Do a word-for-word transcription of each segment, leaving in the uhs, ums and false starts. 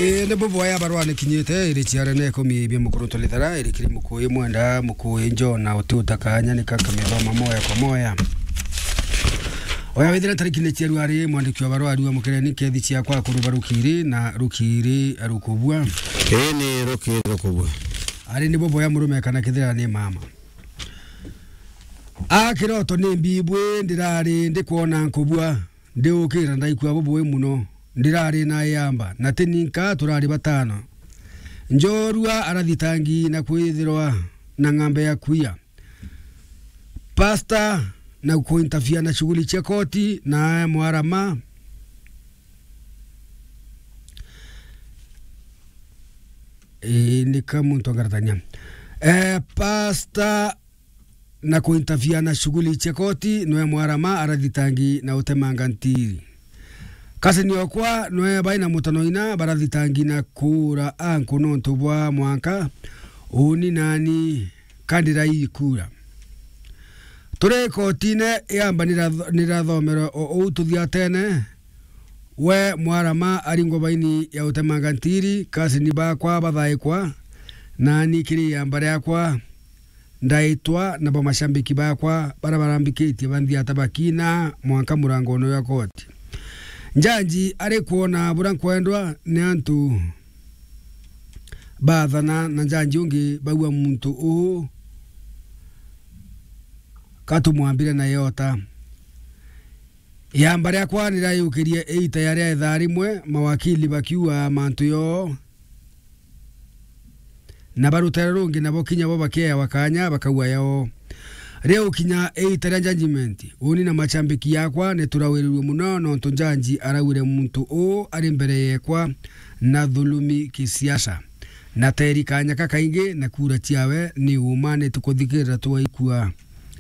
Ii, ni buboya barua ni kinyite, iri ciara na ikumi bia mukuru tulithara, iri kiri mukuyi mwenda, mukuyi njona, uti utakanya, ni kaka mithoma moya kwa moya. Oya withira tariki ni cia ruari, mwandiki wa barua ariwa mukireni kethi ciakwa kuruba rukiri na rukiri rukubua. Ii ni rukiri rukubua. Ari ni buboya murume kana kithira ni mama. A kiroto ni mbibwi, ndirari ndikwona nkubua. Ndiukira ndaikua bubui muno. Ndirari na iamba, na ti ninka turari batano. Njorua arathitangi na kwithirwa na ng'ambe ya kuia. Pasta na kuintafia na shughuli cia koti na mwarama. Ii, ni ka muntu angaratania. Eh, pasta na kuintafia na shughuli cia koti, nwe mwarama arathitangi na utemanga ntiri. Kasini okwa nwe bai na mutanoina barathitangi na kuura anku nontu bwa mwanka uni nani kandirai kura. Turi kotine, iamba niratho-, nirathomere o uu tuthiatene, we mwarama aringwa baini ya utemanga ntiri, kasini bakwa bathaikwa, nani kiri iamba riakwa ndaitwa, nabo mashambiki bakwa bara barambikitie banthia ta bakina mwanka murangone jwa koti. Njanji ari kwona bura nkwendwa ni antu bathana na njanji ungi baua muntu uu katumwambire na iota. Iamba riakwa niraiukirie iita ya ria ithaa rimwe, mawakili bakiuga mantu yoo, na ba rutere rungi nabo kinya bo bakiewa kanya bakauga yao. Riu kinya iita ria judgment, uni na machambiki yakwa niturawirirue muno, nontu njanji araugire muntu uu ari mbere yekwa na thulumi kisiasa, na teri kanya kakaingi, na kura ciawe ni uma, nitukuthikirira twaikua.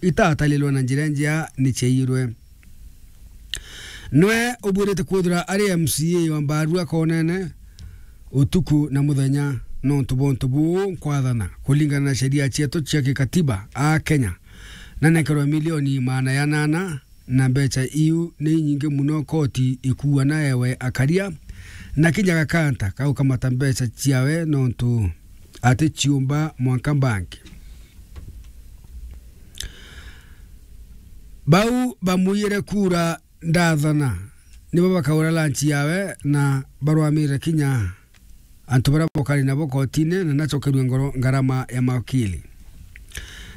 Itatalilwe na njira njia ni ciaiyirwe. Nwe ubwirite kwithira ari M C A wa mbarua konene utuku na muthenya, nontu bwa untu buu nkwathana kuringana na sheria cietu cia gikatiba a Kenya, na nekerwe milioni maana ya nana, na mbecha iu ni inyingi muno koti ikuua na ewe akaria, na kinya gakanta kaukamata mbecha ciawe nontu ati ciumba mwanka banki. Bau bamwiyire kura ndathana, nibo bakaura lunch yawe na barwamire kinya antu baria bokari nabo kotine na nacokerue ngoro ngarama ya mawakili.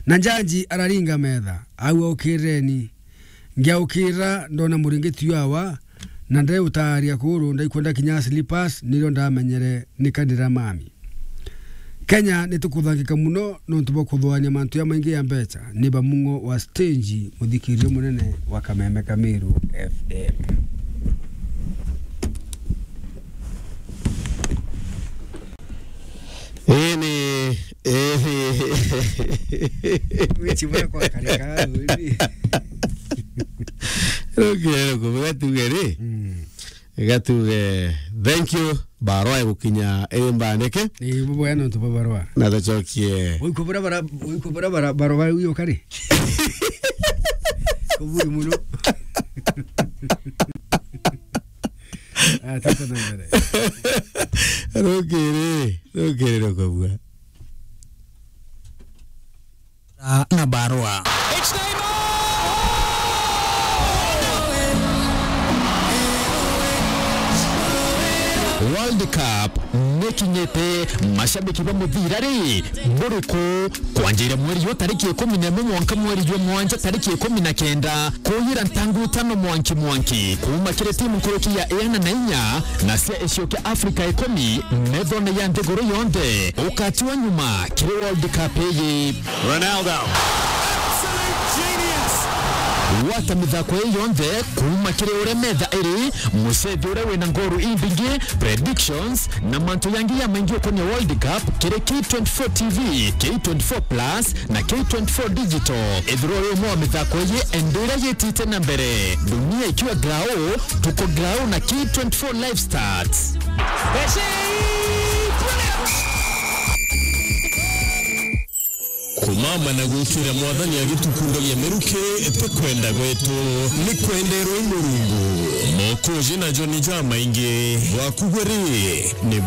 Na njanji araringa metha, au aukireni. Ngiaukira ndona muringiti jwawa, na ndari utaaria kuru, ndaikwenda kinya slippers, nirio ndamenyere ni kandira mami. Kenya nitukuthangika muno nontu bwa kuthuania mantu jamaingi ya mbecha. Ni Bamung'o wa stage, muthikiria munene wa Kameme Kamiru F M. Ii ni, ii ni. Wichi bwa kwa kareka, ii. Rukire rukubu gatuge ri. Mm. Gatuge, thank you, barua igukinya iri mbandike. Ii, buboya nontu bwa barua. Na tucokie. Uikubura bara, uikubura bara, barua bari uyo kari. Kuburi muno. Ah, tata na mbere. Rukiri, rukiri rukubua. Na barua. World Cup nikinyite, mashabiki ba muthira ri, buriku? Kwanjira mweri jwa tariki ikumi na imwe mwanka mweri jwa mwanja tariki ikumi na kenda, kuyira ntangu itano mwanki mwanki, kuuma kiri timu nkuruki ya iana na inya na cia icio kia Africa ikumi, methone ya nthiguru yonthe, ukatiwa nyuma kiri World Cup iyi. Ronaldo. Absolute genius. Gwata mithako ii yonthe kuuma kiri uria metha iri, mucethi uria wina ngoru imbingi, predictions, na mantu yangi ya maingi ukonia World Cup kiri K twenty-four T V, K twenty-four Plus, na K twenty-four Digital. Ethirwa uri umwe wa mithako iji, enda iria yitite na mbere. Dunia ikiwa grau, tuko grau na K twenty-four Live Stats. Kumama na gwikira Mwathani agitukundagia miruki, ti kwenda gwetu, ni kwenderwe i Murungu. Mokoji na joni jamaingi, gwaku gwe ri, ni